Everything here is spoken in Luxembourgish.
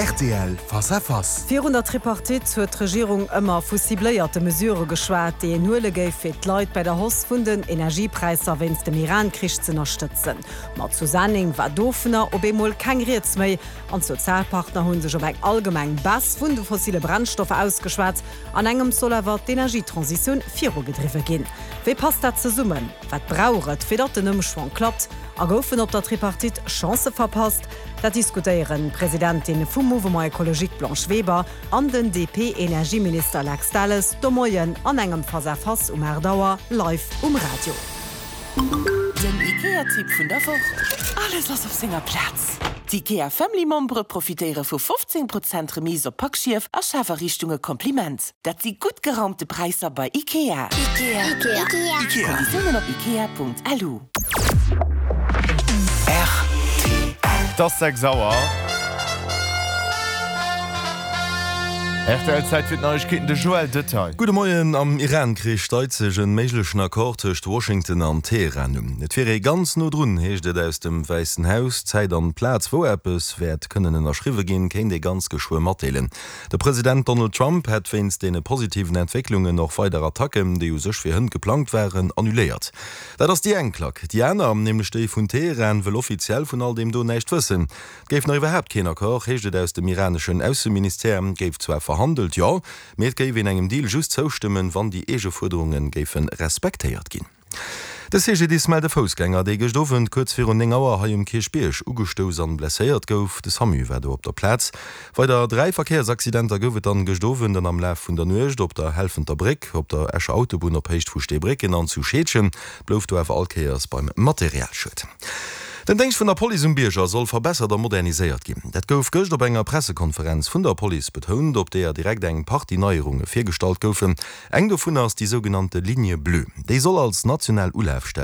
Rtl Face à Face. Virun der Tripartite huet d'Regierung ëmmer vu cibléierte Mesurë geschwat, déi een huele géif, fir d'Leit bei der Hausse vun den Energiepräisser wéinst dem Iran-Krich z'ënnerstëtzen. Ma zu Senneng war dovunner op eemol keng Rieds méi an d'Sozialpartner hu sech op eng allgemeng Baisse vun de fossile Brennstoffer ausgeschwat. An engems soll awer d'Energietransitioun virugedriwwe ginn. Wéi passt dat zesummen? Wat brauch et, fir datt den Ëmschwong klappt? A goufen op der Tripartite Chancë verpasst? Dat diskutéieren d'Presidentin vum Mouvement Ecologique Blanche Weber an den DP-Energieminister Lex Delles de Moien an engem Face-à-Face um 8 Auer live um Radio. Den IKEA-Tipp vun der Woch, Alles ass op senger Plaz! D'IKEA Family Membere profitéiere vu 15 Prozent Remise op Packschief a Schafariichtunge Kompliment! Dat si gutt geraumte Präisser bei IKEA! Konditiounen op ikea.lu. Et ass 6 Auer. Rtl Zäit fir d'Neiegkeeten, de Joël Detail. Gudde Moien. Am Iran-Krich deit sech en méiglechen Accord tëscht Washington an Teheran un. Et wier ee ganz no drun, heescht et aus dem Wäissen Haus. D'Zäit an d'Plaz, wou eppes wäert kënnen ënnerschriwwe ginn, kéint ee ganz geschwë matdeelen. De President Donald Trump hätt wéinst deene positiven Entwécklungen och weider Attacken, déi u sech fir hënt geplangt waren, annuléiert. Dat ass déi eng Klack. Déi aner, nämlech déi vun Teheran, wëll offiziell vun all deem do näischt wëssen. Et géif nach iwwerhaapt keen Accord, heescht et aus dem iraneschen Ausseministère. Et géif zwar verhandelt, jo, mee et géif een engem Deal just zoustëmmen, wann déi eege Fuerderunge géife respektéiert ginn. De CGDIS mellt e Foussgänger, dee gëscht Owend kuerz virun 9 Auer hei um Kierchbierg ugestouss an blesséiert gouf. De Samu war do op der Plaz. Weider 3 Verkéiersaccidenter gouf et dann gëscht Owend an am Laf vun der Nuecht op der Helfenter Bréck, op der Escher Autobunn op Héicht vu Steebrécken an zu Scheedgen. Blouf do awer all Kéiers beim Materialschued. Den Déngscht vun der Police um Bierger soll verbessert a moderniséiert ginn. Dat gouf gëscht op enger Pressekonferenz vun der Police betount, op deeër direkt eng Partie Neierunge virgestallt goufen. Eng dovunner ass déi sougenannte Ligne bleue. Déi soll als national Ulafstell.